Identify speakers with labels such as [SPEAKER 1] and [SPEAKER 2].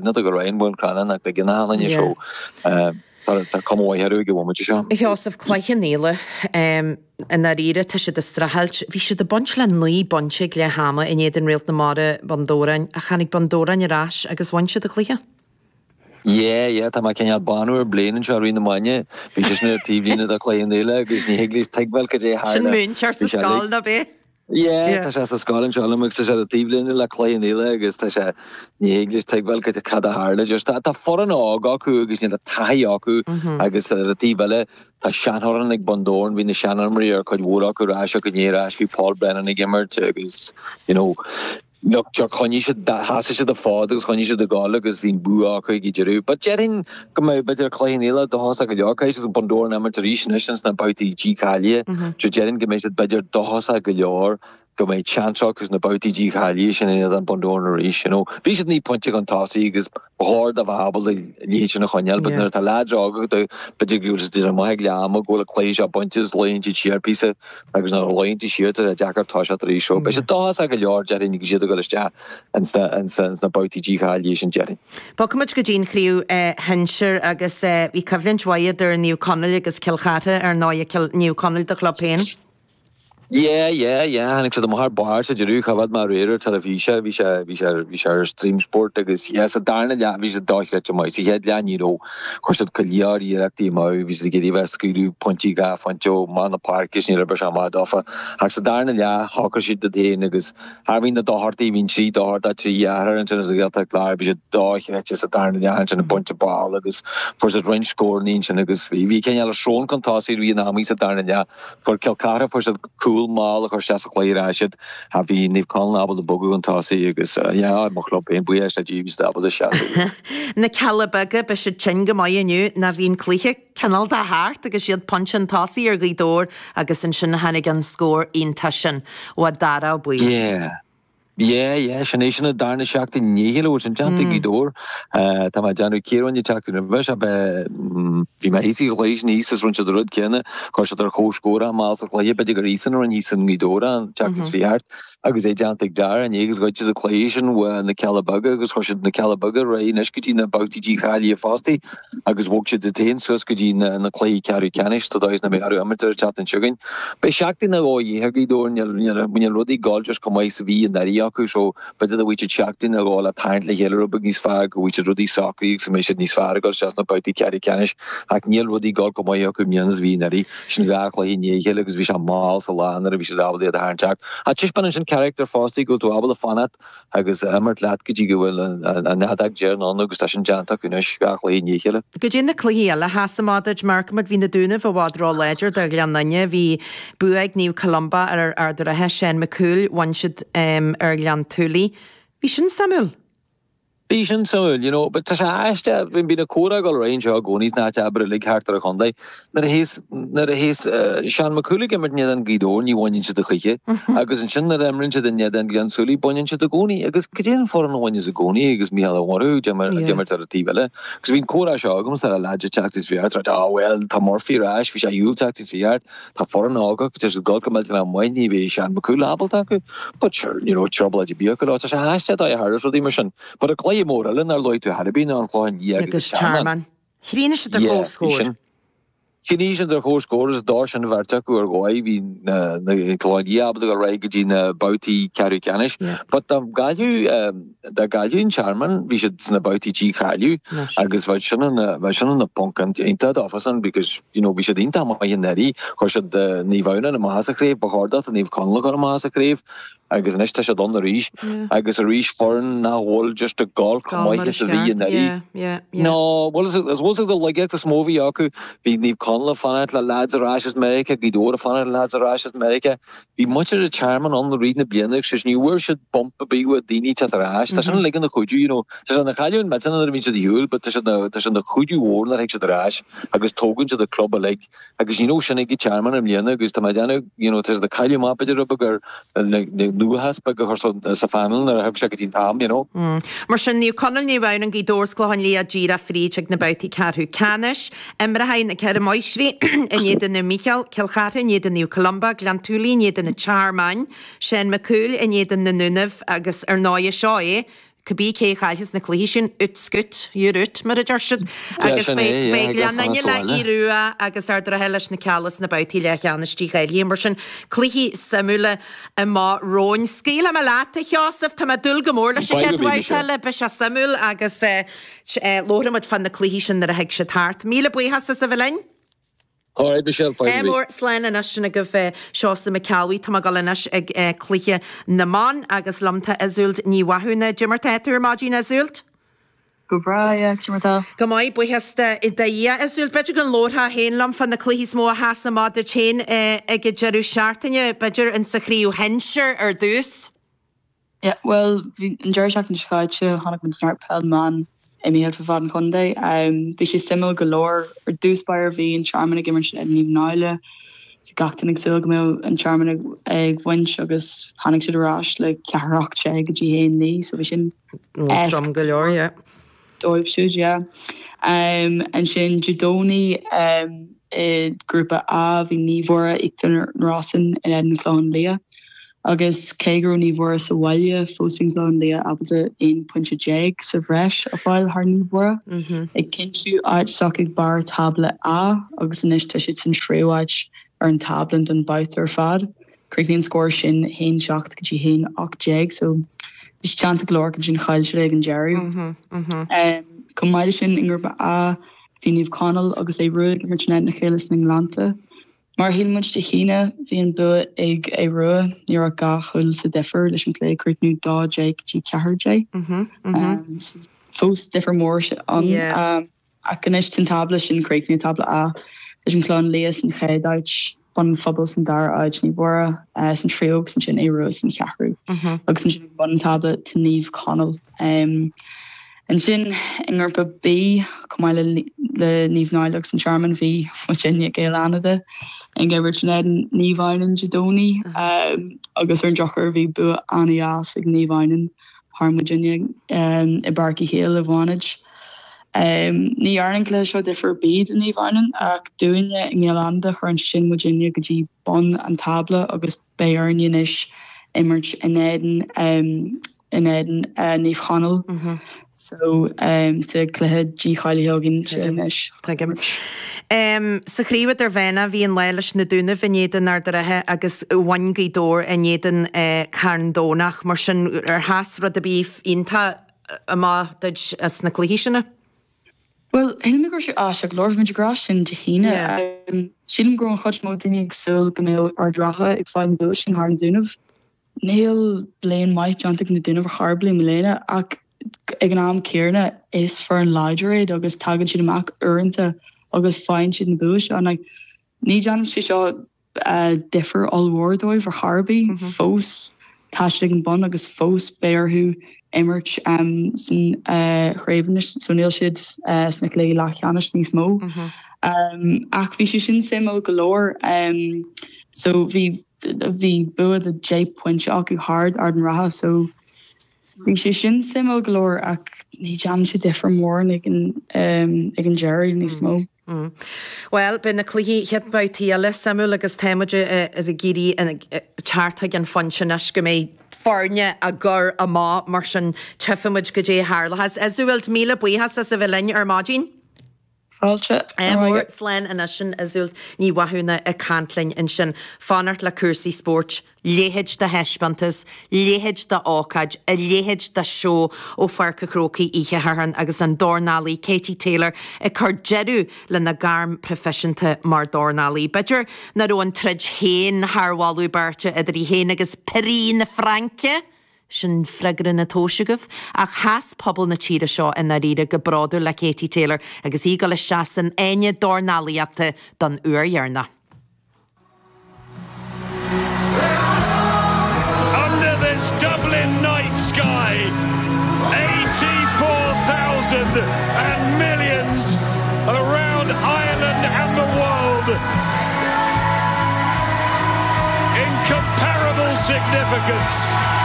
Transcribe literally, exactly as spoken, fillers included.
[SPEAKER 1] Not go raon bhfuil cranna nach de gina hanna so tá cuma mhaith orthu ag an bhomaite seo.
[SPEAKER 2] A Sheosaimh, Cloich Cheann Fhaola, i ndáiríre tá siad ag streachailt. Bhí siad ag baint le naoi bpointe ag leath ama in éadan Réalt na Mara, Bun Dobhráin, ach tháinig Bun Dobhráin ar ais agus bhain siad an cluiche.
[SPEAKER 1] Yeah, yeah, tá mé cineál bánú ar bliain anseo i rith na maidine. Bhí sé sin ar taobhlíne de Chloich Cheann Fhaola agus ní thig leis tuigbheáil cad é a tharla.
[SPEAKER 2] Sin múinteoir sa scoil, nó b'é?
[SPEAKER 1] Yeah, tá sé sa scoil anseo liom agus tá sé ar taobhlíne le Cloich Cheann Fhaola agus tá sé ní thig leis tuigbheáil cad cad a tharla. Just tá tá foireann óg acu agus níl taithí acu agus ar an taobh eile tá seanfhoireann ag Bun Dobhráin, bhí na seanimreoirí ar cuid mhór acu ar ais acu inné ar ais, bhí Paul Brennan ag imirt agus you know Look, choinnigh siad, sheasaigh siad an fód agus choinnigh siad ag gabháil agus bhí an bua acu ag an deireadh. But déarfainn go mbeidh b'fhéidir Cloich Cheann Fhaola dóchasach go leor. Caithfidh siad Bun Dobhráin a imirt arís anois ins na babhtaí dícháilithe. So déarfainn go mbeidh siad b'fhéidir dóchasach go leor go mbeidh seans acu sna babhtaí dícháilithe sin in éadan Bun Dobhráin arís. You know, bhí siad naoi bpointe chun tosaigh agus ba chóir dóibh bheith ábalta an liathróid sin a choinneáil but nuair atá leaids óga agat b'fhéidir go bhfuil siad ag déanamh maith ag leath ama go bhfuil an cluiche seo bainte agus luíonn siad siar píosa agus nuair a luíonn tú siar tá sé deacair toiseacht arís so beidh siad dóchasach go leor déarfainn agus iad ag dul isteach ins na ins na ins na babhtaí dícháilithe sin déarfainn.
[SPEAKER 2] Bogfaimid go dtí an chraobh shinsir agus bhí coimhlint mhaith idir Naomh Conaill agus Cill Chartha ar ndóigh Naomh Conaill do chlub féin.
[SPEAKER 1] Yeah, yeah, yeah, tháinig siad amach ar barr sa deireadh, choimhéad mé aréir ar teilifís é, bhí sé, bhí sé, bhí sé ar Stream Sport agus yeah, sa darna leath bhí siad dochreidte maith, sa chéad leath ní raibh, chuir siad go leor iarrachtaí amú, bhí siad ag iarraidh a bheith ag scaoileadh pointí dhá phointe ó amach na páirce is ní raibh sé maith dófa ach sa darna leath shocraigh siad iad féin agus thar bhí na Dochartaigh, bhí an trí Dochartach, trí dheartháir ansin as an Ghaeltacht Láir, bhí siad dochreidte sa darna leath ansin ag baint an ball agus fuair siad roinnt scóranna ansin agus bhí, bhí cineál srón chun tosaigh i rith an ama sa darna leath. Fuair Cill Chartha, fuair siad cúl mall a chuir isteach sa chluiche ar ais iad. Bhí Naomh Conaill ábalta bogadh chun tosaigh agus yeah, mo chlub féin, buíochas le Dia, bhí siad ábalta seasamh.
[SPEAKER 2] Na Cealla Beaga, beidh siad tinn go maith inniu, nó bhí an cluiche cineál de thart agus iad pointe chun tosaigh ar Ghaoth Dobhair agus ansin tháinig an scór iontach sin ó Dara Ó Baoill.
[SPEAKER 1] Yeah. Yeah, yeah, sin é sin an darna seachtain i ndiaidh a chéile a bhfuil sin déanta ag Gaoth Dobhair. Tá mé ag déanamh cé a rinne an tseachtain roimhe seo, bhí mé thíos ag an chluiche sin thíos agus rinne siad an rud céanna, chuir siad ar comhscór mall sa chluiche, b'fhéidir gur iadsan a rinne thíos i nGaoth Dobhair an tseachtain seo thart agus é déanta ag Dara inné agus ghoid siad an cluiche sin uaidh na Cealla Beaga agus chuir siad na Cealla Beaga ar aghaidh anois go dtí na babhtaí dícháilithe fostaí agus bhog siad iad féin suas go dtí na cluichí ceathrú ceannais sa dóigh is nach mbeidh orthu imirt ar an tseachtain seo chugainn. Beidh seachtain nó dhó de dhíth ar Ghaoth Dobhair, níl níl rudaí ag gabháil just chomh maith is a bhí anuraidh acu so b'fhéidir go bhfaighidh siad seachtain nó dhó le tarraingt le chéile rud beag níos fearr, go bhfaighidh siad rudaí socraithe agus go mbeidh siad níos fearr ag dul isteach sna babhtaí ceathrú ceannais ach níl rudaí ag gabháil chomh maith acu i mbliana is a bhí anuraidh. Sin dhá chluiche i ndiaidh a chéile agus bhí sé mall sa lá nuair a bhí siad ábalta iad a tharraingt isteach. Ach taispeánann sin carachtar fostaí go bhfuil tú ábalta fanacht agus imirt leat go dtí go bhfuil an fheadóg deireanach ann agus tá sin déanta acu anois, dhá chluiche i ndiaidh a chéile.
[SPEAKER 2] Goidé na cluichí eile a sheas amach duit, mar chonaic muid, bhí na Dúnaibh i bhfad ró-láidir do Ghleann Fhinne, bhí bua ag Naomh Columba ar Ard an Rátha, Seán Mac Cumhaill, bhain siad ar Ghleann tSúilí. Bhí sin suimiúil.
[SPEAKER 1] Bhí sin suimiúil, you know, but tá sé aisteach, bíonn an comhrá ag dul ar aghaidh anseo i gcónaí sna háit oibre uilig thart ar an chontae. Nuair a théas, nuair a théas Seán Mac Cumhaill ag imirt in éadan Gaoth Dobhair ní bhaineann siad a choíche agus ansin nuair a imríonn siad in éadan Gleann tSúilí baineann siad i gcónaí agus cad é an foireann a bhaineas i gcónaí agus Mícheál Ó Murchú ag imirt ar an taobh eile. Agus bhí an comhrá seo agamsa le leaids an tseachtain seo thart, ah well tá Murphy ar ais, bhí sé ar shiúl an tseachtain seo thart, Tá foireann óg acu, tá siad ag dul go millteanach maith, ní bheidh Seán Mac Cumhaill ábalta acu. But sure, you know, trioblóid ar bith acu leo. Tá sé aisteach dóigh a tharlas rudaí mar sin. But an cluiche mór eile nár luaigh tú ar bith ná an Clochán Liath agus
[SPEAKER 2] an Tearmann. Chríochnaigh siad ar comhscór.
[SPEAKER 1] Yeah, Chríochnaigh siad ar comhscór agus d'fhág sin an bheirt acu ar dhóigh. Bhí na Clochán Liath ábalta dul ar aghaidh go dtí na babhtaí ceathrú ceannais. But dá gcaillfeadh, dá gcaillfeadh an Tearmann, bhí siad sna babhtaí dícháiliú agus bheadh sin ina, bheadh sin ina ponc iontach dófasan because, you know, bhí siad iontach maith anuraidh, chuir siad Naomh Adhamhnáin amach as an chraobh, ba chóir dóibh Naomh Conaill a chur amach as an chraobh agus anois tá siad ann arís agus arís foireann nach bhfuil just ag gabháil chomh maith is a bhí anuraidh. No, bhuel is bhfuil an laigeacht is mó a bhí acu, bhí Naomh Conaill ag fanacht le lads ar ais as Meiriceá, Gaoth Dobhair ag fanacht le lads ar ais as Meiriceá. Bhí muintir an Tearmainn ann i rith na bliana agus ní bhfuair siad bump ar bith uaidh daoine teacht ar ais. Tá sin uilig ina chuidiú, you know. Tá sé ina chailliúint millteanach nuair a bhíonn siad ar shiúl but tá sé ina, tá sé ina chuidiú mhór nuair a thig siad ar ais agus tógann siad an club uilig agus ní raibh sin ag an Tearmann i mbliana agus tá mé ag déanamh, you know, tá siad ag cailleadh amach b'fhéidir rud beag ar na nuachas beag a chur sa phainéal nuair a thug sé go dtí an t-am, you know.
[SPEAKER 2] Mar sin, Naomh Conaill, Naomh Adhamhnáin, Gaoth Dobhair 's Clochán Liath díreach fríd chuig na babhtaí ceathrú ceannais. Imreoidh na Ceithre Máistrí in éadan Naomh Mícheál, Cill Chartha in éadan Naomh Columba, Gleann tSúilí in éadan an Tearmainn, Seán Mac Cumhaill in éadan na nDúnaibh agus ar ndóigh seo é Cibé cé a chaillfeas na cluichí sin, ut scut, you're out, mar a deir siad. Agus beidh Gleann Fhinne le Aodh Rua agus Ard an Rátha leis na Cealla sna babhtaí leathcheannais dícháilithe. Mar sin, cluichí suimiúla amach romhainn. Scaoilfidh mé leat, a Sheosaimh, tá mé ag dúil go mór leis an chéad bhabhta eile, beidh sé suimiúil agus labharfaidh muid fá na cluichí sin nuair a thig siad thart. Míle buíochas as a bheith linn.
[SPEAKER 1] Alright Michelle, fine
[SPEAKER 2] Ádh mór, slán anois sin agaibh Seosamh Mac Ceallbhuí. Tá mé ag dul anois ag cluiche na mban agus liom tá Iseult Ní Mhathúna. Cad é mar tá tú ar maidin Iseult?
[SPEAKER 3] Go breá, yeah, cad é mar tá?
[SPEAKER 2] Go maith, buíochas do Dhia. Iseult, b'fhéidir go labharfá féin liom fá na cluichí is mó a sheas amach duit féin ag an deireadh seachtaine, b'fhéidir in sa chraobh shinsir ar dtús?
[SPEAKER 3] Yeah, bhuel, bhí an deireadh seachtaine seo caite, chonaic muid neart peil na mban imithe fud fad an chontae. Bhí sé suimiúil go leor. Ar dtús báire bhí an Tearmann ag imirt in Naomh Náille. Bhí gach duine ag súil go mbeadh an Tearmann ag ag bhaint agus tháinig siad ar ais le ceathair ocht déag go dtí haon naoi so bhí sin
[SPEAKER 2] Trom go leor, yeah.
[SPEAKER 3] dóibh siúd, yeah. Ansin Dé Domhnaigh i ngrúpa A bhí Naomh Mhuire Íochtar na Rosann in éadan an Clochán Liath. Agus cé go raibh Naomh Mhuire sa bhaile, fós bhí an Clochán Liath ábalta aon pointe déag sa bhreis a fháil thar Naomh Mhuire, ag cinntiú áit s'acu ag barr tábla A agus anois tá siad san tríú áit ar an tábla don babhta ar fad. Chríochnaigh an scór sin haon seacht go dtí haon ocht déag so bhí sé teannta go leor ansin chaill siad ag an deireadh. Chomh maith leis sin i ngrúpa A bhí Naomh Conaill agus Aodh Rua ag imirt in éadan a chéile sna Gleannta. Mar a shíl muid Dé hAoine, bhí an bua ag Aodh Rua, ní raibh dhá chúl sa difear leis an cluiche ag críochnú dó déag go dtí ceathair déag. Fós difear mór ann. Ach anois san tábla sin críochnaithe, tábla A, leis an Chlochán Liath san chéad áit, Bun an Phobail san dara áit, Naomh Mhuire san tríú agus ansin Aodh Rua san cheathrú. Agus ansin ag bun an tábla tá Naomh Conaill. Ansin i ngrúpa B, chomh maith le le Naomh Náille agus an Tearmann, bhí muidinne Gaeil Fhánada ag imirt in éadan Naomh Adhamhnáin Dé Domhnaigh agus ar an drochuair bhí bua an-dheas ag Naomh Adhamhnáin thar muidinne i bPáirc Uí Chéil i bhFánaid. Ní dhearna an cluiche seo difear ar bith do Naomh Adhamhnáin ach dúinne i nGaeil Fhánada chuir sin muidinne go dtí bun an tábla agus beidh orainne anois imirt in éadan in éadan Naomh Chonaill. So tá cluiche dícháilithe againn anois.
[SPEAKER 2] Tuigim. Sa chraobh idirmheánach bhí an lá leis na Dúnaibh in éadan Ard an Rátha agus bhain Gaoth Dobhair in éadan Carn Domhnach. Mar sin ar sheas rud ar bith iontach amach duit as na cluichí sin?
[SPEAKER 3] Well, shíl mé go raibh sé aisteach go leor, bhí muid ag rá sin Dé hAoine. Sílim go raibh an chuid is mó daoine ag súil go mbeadh Ard an Rátha ag fáil an bua sin thar na Dúnaibh. Níl bliain maith déanta ag na Dúnaibh ar chor ar bith i mbliana ach ag an am céanna is foireann láidir iad agus tagann siad amach uaireanta agus faigheann siad na bua seo. Like, ní dhéanann sé seo difear ollmhór dóibh ar chor ar bith. Fós tá siad ag an bun agus fós beidh orthu imirt san chraobh anois so níl siad sna cluichí leathcheannais níos mó. Ach bhí sé sin suimiúil go leor. So bhí bhí bua de deich pointe acu thar Ard an Rátha so bhí sé sin suimiúil go leor ach ní dhéanann sé difear mór ag an ag an deireadh níos mó.
[SPEAKER 2] Bhuel, beidh na cluichí chéad babhtaí eile suimiúil agus tá muid ag iarraidh teacht chuig an phointe anois go mbeidh foirne á gcur amach mar sin tchífidh muid goidé a tharlóchas. Iseult, míle buíochas as a bheith linn ar maidin.
[SPEAKER 3] Fáilte.
[SPEAKER 2] Mór slán anois sin Iseult Ní Mhathúna ag caint linn ansin. Fanacht le cúrsaí spóirt, leithéid de thaispeántas, leithéid de ócáid, a leithéid de seó ó Pháirc an Chrócaigh oíche Shathairn agus an dornálaí Katie Taylor ag cur deireadh lena gairm proifisiúnta mar dornálaí. B'fhéidir nach raibh an troid féin thar mholadh beirte idir í féin agus Paris na Fraince, Sin freagra na tomhais agaibh. Ach sheas pobal na tíre seo i ndáiríre go bródúil le Katie Taylor agus í ag dul isteach san fháinne dornálaíochta don uair dheireanach.
[SPEAKER 4] Under this Dublin night sky, eighty four thousand and millions around Ireland and the world incomparable significance.